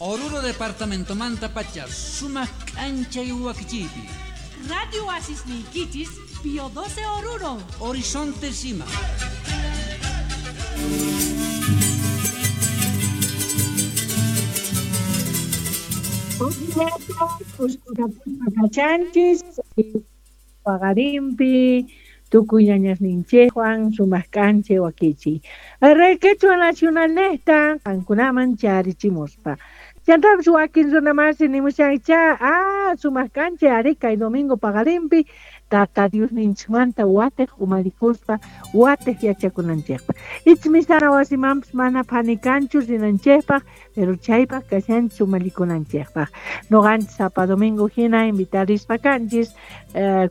Oruro departamentomanta pacha sumaq k'anchay wakichiypi. Radio Oasis niykichis, Pío 12 Oruro. Horizonte Sima. Kachanchis paqarinpi tukuy ñañasninchikwan sumaq k'anchay wakichiy. Rey Quechua Nacional nesta qankunaman charichimuspa. Chantapis wakin runamasi nimushancha sumaq k'anchay ari kay domingo paqarinpi Tata Diosninchikmanta watej umarikuspa watej yachakunanchikpaq. Ichmisana wasimanpis mana phanikanchu rinanchikpaq, pero chaypaq kashanchis umallikunanchikpaq. Noqanchis sapa domingo hina invitarispa kanchis,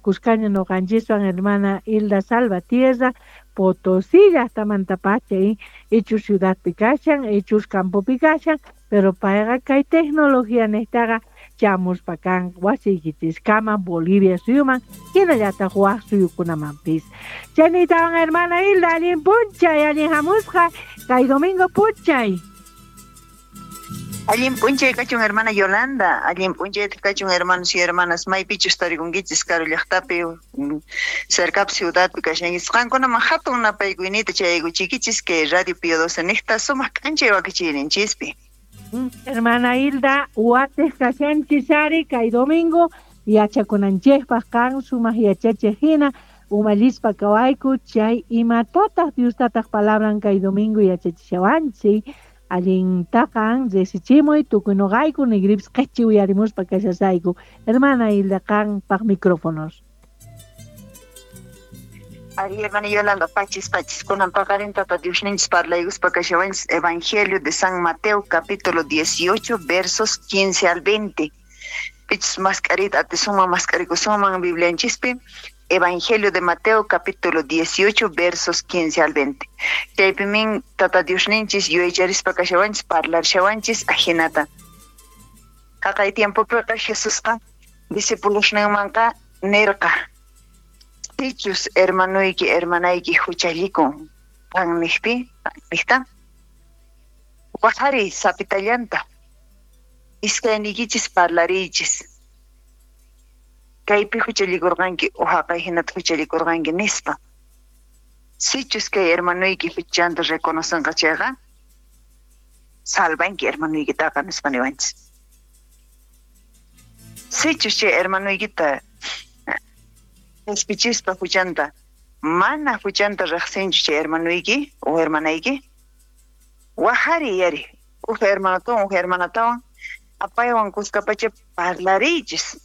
kuskaña noqanchiswan hermana Hilda Salvatierra, Potosí llaqtamantapacha, ichus ciudadpi kashan, ichus campopi kashan, pero payqa kay tecnología nishtaqa chamuspa kan wasiykichiskama Bolivia suyuman, hinallataq waq suyukunamanpis. Chaynitawan hermana Hilda, allin p'unchay, allin hamusqa, kay domingo p'unchay. Allin p'unchay kachun hermana Yolanda, allin p'unchay kachun hermanos y hermanas, maypichus tarikunkichis karu llaqtapi, cercapi ciudadpi kashankichis, qankunaman hatun napaykuynita chayaykuchikichis kay Radio Pío 12 niqta sumaq k'anchay wakichiyninchispi. Hermana Hilda, watej kashanchis ari kay domingo yachakunanchikpaq kan sumaq yachachiq hina umallispa kawayku chay imatataq Diostataq palabran kay domingo yachachishawanchik allintaqan risichimuy tukuy noqayku nigripis qhichi uyarimuspa kashasayku. Hermana Hilda, qanpaq micrófonos. Ari, hermana Yolanda, pachis, pachis, kunan paqarin Tata Diosninchis parlaykuspa kashawanchis Evangelio de San Mateo, capítulo 18, versos 15 al 20. Pichis mascarita, atisunman, mascarikusunman Biblianchispi, Evangelio de Mateo, capítulo 18, versos 15 al 20. Chaypimin Tata Diosninchis yuyaycharispa kashawanchis, parlarshawanchis, ajinata. Jaqay tiempopiqa Jesusqa discipulosninmanqa nirqa: Sichus hermanoyki, hermanayki huchallikun qanniqpi, qanniqta, waqariy sapitallanta, iskayniykichis parlariychis. Kaypi huchallikurqanki o haqay hinata huchallikurqanki nispa. Sichus kay hermanoyki huchanta reconocenqa chayqa, salvanki hermanoykitaqa nispa niwanchis. Sichus chay hermanoykita qhispichispa huchanta, mana huchanta riqsinchu chay hermanoyki o hermanayki, waqariy ari, uj hermanotawan, uj hermanatawan, apaywan kuskapacha parlariychis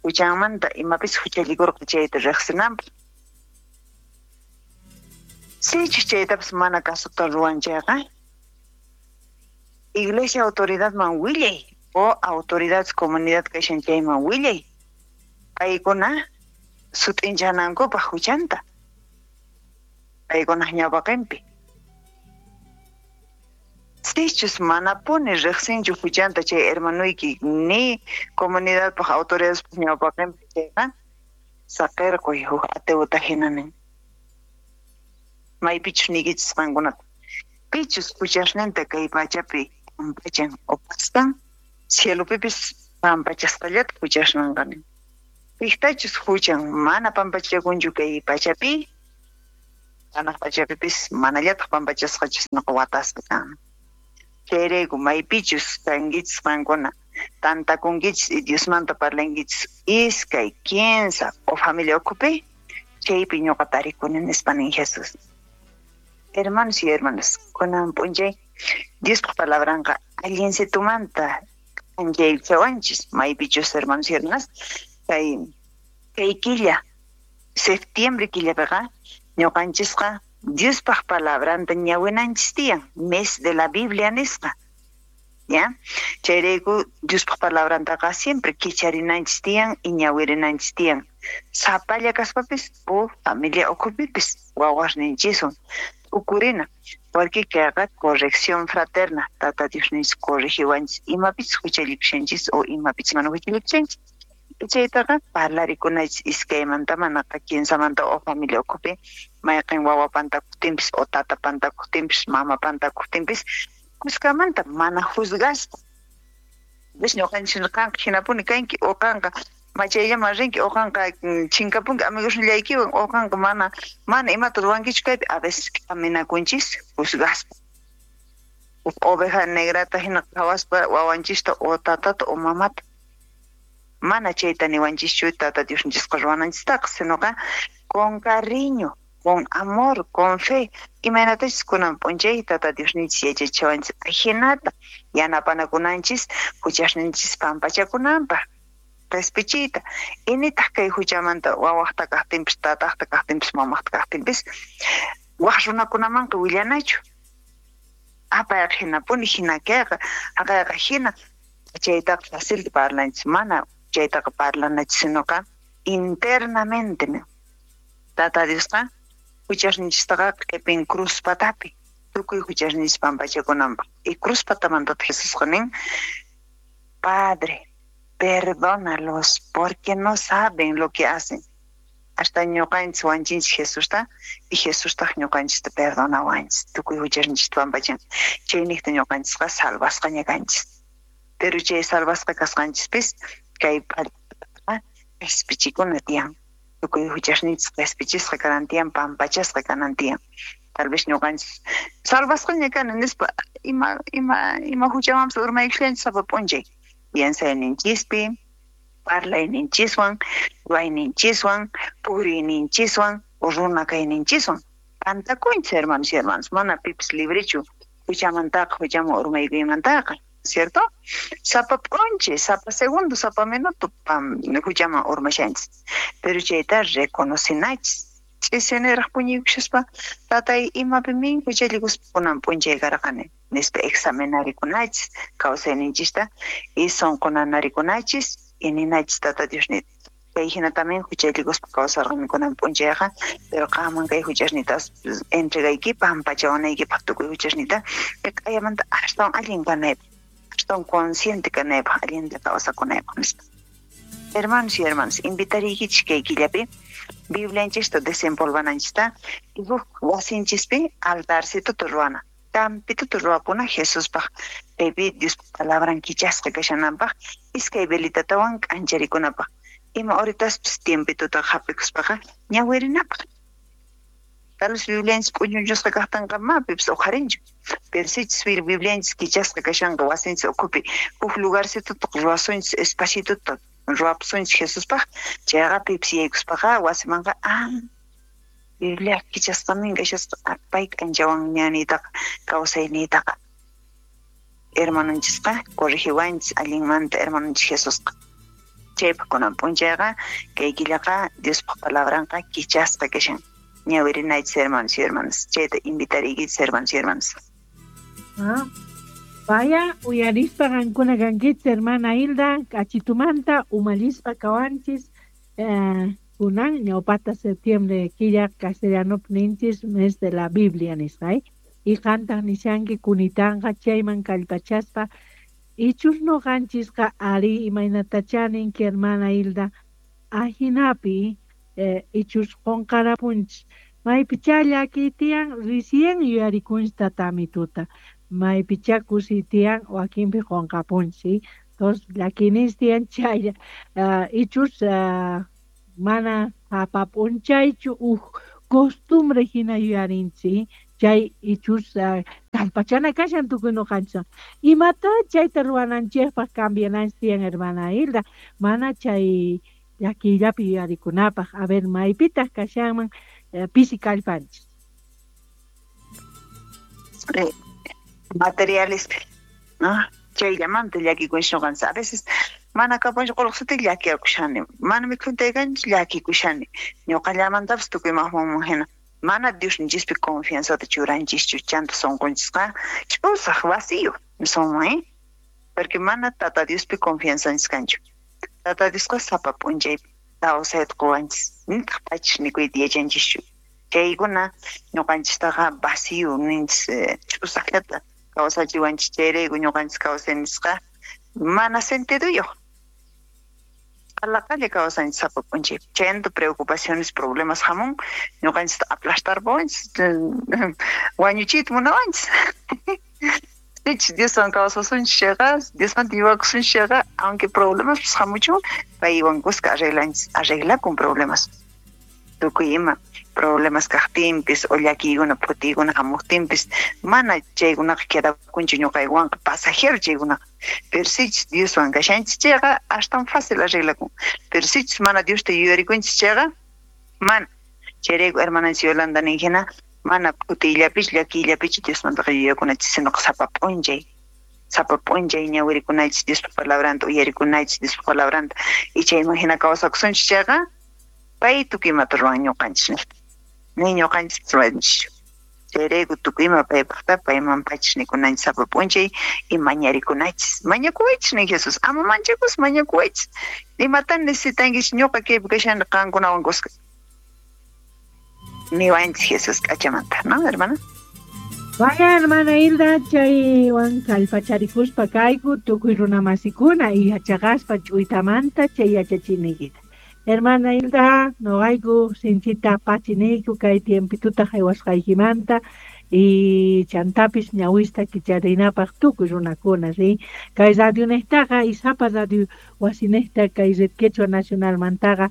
huchanmanta imapis huchallikurqa chayta riqsinanpaq. Sichus chaytapas mana kasuta ruwan chayqa, iglesia autoridadman willay o autoridad comunidad kashan chayman willay, paykuna sut'inchanankupaq huchanta, paykunaq ñawpaqinpi. Sichus manapuni riqsinchu huchanta chay hermanoyki ni comunidadpaq autoridadpaq ñawpaqinpi chayqa, saqirquy huk ateuta hina nin. Maypichus niykichis qankunata, pichus huchasninta kay pachapi pampachan o pastan, cielopipis pampachasqallata huchasninqa nin. Piqtachus huchan mana pampachakunchu kay pachapi, hanaq pachapipis manallataq pampachasqachus naqa watasqa kan. Chayrayku maypichus kankichis qankuna, tantakunkichis y Diosmanta parlankichis iskay, kinsa o familia ukhupi, chaypi ñuqa tarikuni nispa nin Jesús. Hermanos y hermanas, kunan p'unchay Diospaq palabranqa allinsitumanta k'anchaychawanchis maypichus hermanos y hermanas, kay killa, septiembre killapiqa ñuqanchisqa Diospaq palabranta ñawinanchis tiyan, mes de la Biblia nisqa. ¿Ya? Chayrayku Diospaq palabrantaqa siempre kicharinanchis tiyan y ñawirinanchis tiyan. Sapalla kaspapis o familia ukhupipis wawasninchiswan ukurina, porque kayqa corrección fraterna, Tata Diosninchis corrigiwanchis imapis huchallikushanchis o imapis mana huchallikushanchis. Chaytaqa parlarikunachis iskaymanta manaqa kinsamanta o familia ukhupi mayqin wawa pantakuqtinpis o tata pantakuqtinpis mama pantakuqtinpis kuskamanta mana juzgaspa. Ves ñuqanchis qanqa hinapuni kanki o qanqa machayllaman rinki o qanqa chinkapunki amigosnillaykiwan o qanqa mana imata ruwankichu kaypi. A veces k'aminakunchis juzgaspa. Huk oveja negrata hina qhawaspa wawanchista o tatata o mamata. Mana chayta niwanchischu tata Diosninchisqa ruwananchistaqa, sinoqa con cariño, con amor, con fe. Imaynatachus kunan p'unchay tata Diosninchis yachachiwanchis ajinata yanapanakunanchis huchasninchis pampachakunanpaq qhispichiyta. Initaq kay huchamanta wawaqta kaqtinpis, tataqta kaqtinpis, mamaqta kaqtinpis waq runakunamanqa willanachu. Apayqa hinapuni, hina kayqa, haqayqa hina. Chaytaqa fácil parlanchis, mana chaytaqa parlanachis, sinoqa internamente. Tata Diosqa huchasninchistaqa q'ipin cruz patapi, tukuy huchasninchis pampachakunanpaq. Y cruz patamantataq Jesusqa nin, Padre, perdónalos porque no saben lo que hacen. Hasta ñuqanchis wanchinchis Jesusta y Jesustaq ñuqanchista perdonawanchis, tukuy huchasninchista pampachan. Chayniqta ñuqanchisqa salvasqaña kanchis. Pero chay salvasqa kasqanchispis kay p'allaqa qhispichikuna tiyan. Tukuy huchasninchis qhispichisqa kanan tiyan, pampachasqa kanan tiyan. Tal vez ñuqanchis salvasqaña kani nispa ima huchamanpis urmaykushanchis sapa p'unchay. Piensayninchispi, parlayninchiswan, ruwayninchiswan, puriyninchiswan, runa kayninchiswan. Pantakunchis, hermanos y hermanas, mana pipis librechu huchamantaqa, huchaman urmaykuymantaqa, ¿cierto? Sapa p'unchay, sapa segundo, sapa minuto huchaman urmashanchis. Pero chayta reconocinachis. Ch'isiniraq puñuykushaspa, tatay imapi min huchallikuspa kunan p'unchay karqani nispa examinarikunachis kawsayninchista y sunqunanarikunachis y ninachis tata Dios nita. Kay hina también huchallikuspa kawsarqani kunan p'unchayqa, pero qanman kay huchasnitas entregayki pampachawanaykipaq tukuy huchasnita q'ayamanta astawan allin kanaypaq, astawan consciente kanaypaq, allinta kawsakunaypaq nispa. Hermanos y hermanas, invitariykichis kay killapi Biblianchista desempolvananchista y huk wasinchispi altarcito ruwana. Campituta ruwapuna Jesuspaq kaypi Diospa palabran kichasqa kashananpaq iskay velitatawan k'ancharikunapaq. Ima horitaspis tiempituta hap'ikuspaqa ñawirinapaq. Tal vez Biblianchis k'uñuchusqa kaqtinqa ma pipis uqharinchu. Pero sichus Biblianchis kichasqa kashanqa wasinchis ukhupi huk lugarcituta ruwasunchis espacituta ruwapusunchis Jesuspaq, chayqa pipis yaykuspaqa wasimanqa Biblia kichasqamin kashasqa pay k'anchawan ñaniytaqa kawsayniytaqa. Hermanonchisqa corrigiwanchis allinmanta hermanonchis Jesusqa. Chaypaq kunan p'unchayqa kay killaqa Diospaq palabranqa kichasqa kashan. Ñawirinaychis hermanos y hermanas. Chayta invitariykichis hermanos y hermanas. Vaya, uyarispa qankuna kankichis hermana Hilda, k'achitumanta umallispa kawanchis kunan ñawpata septiembre killa castellano ninchis mes de la Biblia nisqa, y qantaq nishanki kunitanqa chayman kallpachaspa ichus noqanchisqa ari imaynatachá ninki hermana Hilda ajinapi ichus qunqarapunchis maypichá llakiy tiyan recién yuyarikunchis tatamituta maypichá kusiy tiyan wakinpi qunqapunchis, entonces llakiyninchis tiyan chaylla ichus mana sapa p'unchaychu uj costumbre hina yuyarinchis, chay ichus kallpachana kashan tukuy noqanchis. Imata chayta ruwananchikpaq cambiananchis tiyan hermana Hilda, mana chay llakiyllapi yuyarikunapaq. A ver, maypitaq kashanman pisi kallpanchis. Materiales, ¿no? Chayllamanta llakikunchis noqanchis. A veces mana kapunchu qullqisita llakiyakushani, mana mikhuntaykanchis llakikushani, ñuqallamantapis tukuy maqmanman hina. Mana Diosninchispi confianzata churanchischu, chanta sunqunchisqa ch'usaq vacío nisunman, porque mana Tata Diospi confianzanchis kanchu. Tata Diosqa sapa p'unchay kawsayta quwanchis, nitaq pachis mikuyta yachanchischu. Chaykuna ñuqanchistaqa vacío ninchis, ch'usaqllata kawsachiwanchis. Chayrayku ñuqanchis kawsaynisqa mana sentiduyuq. Qallaqalla kawsanchis sapa p'unchay. Chayanta preocupaciones, problemas hamun, ñuqanchista aplastarpawanchis, wañuchiyta munawanchis. Sichus Dioswan kawsasunchis chayqa, Diosmanta yuyakusunchis chayqa, aunque problemas hamuchun, paywan kuska arreglanchis, arreglakun problemas. Tukuy ima problemas kaqtinpis o llakiykuna phutiykuna hamuqtinpis, mana chaykunaqa quedakunchu ñuqaywanqa, pasajero chaykunaqa. Pero sichus Dioswan kashanchis chayqa, astawan fácil arreglakun. Pero sichus mana Diosta yuyarikunchis chayqa, mana. Chayrayku hermananchis Yolanda nin hina, mana phutiyllapichu llakiyllapichu Diosmantaqa yuyakunachis, sinoqa sapa p'unchay. Sapa p'unchay ñawirikunachis Diospa palabranta, uyarikunachis Diospa palabranta. Y chayman hina kawsakusunchis chayqa, pay tukuy imata ruwan ñuqanchis niqta. Ni ñuqanchis ruwanchischu. Chayrayku tukuy ima paypaqta payman pachis nikunanchis sapa p'unchay y mañarikunachis. Mañakuwaychis nin Jesús, ama manchakus mañakuwaychis. Imatan necesitankichis ñuqa kaypi kashani qankunawan kuska. Niwanchis Jesús k'achamanta, ¿no, hermana? Vaya, hermana Hilda, chaywan kallpacharikuspa kayku tukuy runamasikuna y yachaqaspa ch'uytamanta chay yachachiniykita. Hermana Hilda, noqayku sinchita pachiniyku kay tiempituta haywasqaykimanta y chantapis ñawista kicharinapaq tukuy runakuna, ¿sí? Kay radionejtaqa y sapa radio wasinejta kay Red Quechua Nacionalmantaqa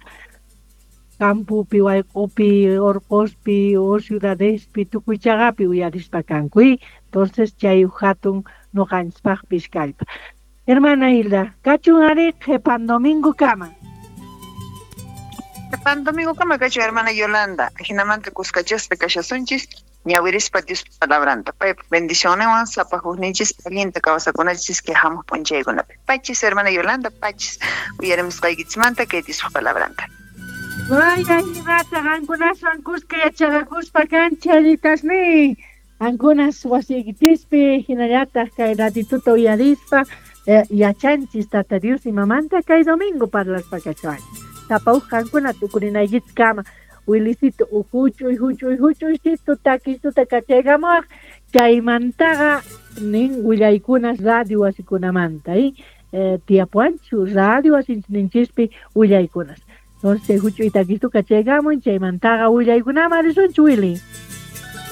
campopi, wayq'upi, orqospi o ciudadespi tukuy chaqapi uyarispa kanku. Entonces chay hatun noqanchispaqpis kallpa. Hermana Hilda, kachun ari qhipan domingo kama. Qhipan domingo kama kachun hermana Yolanda. Jinamanta kuskachaspa kashasunchis ñawirispa Diospa palabranta. Paypa bendicionninwan sapa hukninchis allinta kawsakunachis kay hamuq p'unchaykunapi. Pachis hermana Yolanda, pachis uyarimusqaykichismanta kay Diospa palabranta. Vaya, imata qankunaswan kuska yachaqakuspa kanchalitasni. Qankunas wasiykichispi hinallataq kay ratituta uyarispa yachanchis Tata Dios imamanta kay domingo parlaspa kachawani. Sapa uj qankuna tukurinaykichis kama Wilisito huch'uy huch'uy huch'uysitu takisuta kachaykamuwaq chaymantaqa nin willaykunas radio wasikunamanta tiyapuwanchu radio wasinchinchispi willaykunas. Entonces huch'uy takistu kachaykamun chaymantaqa willaykunaman risunchu Wili.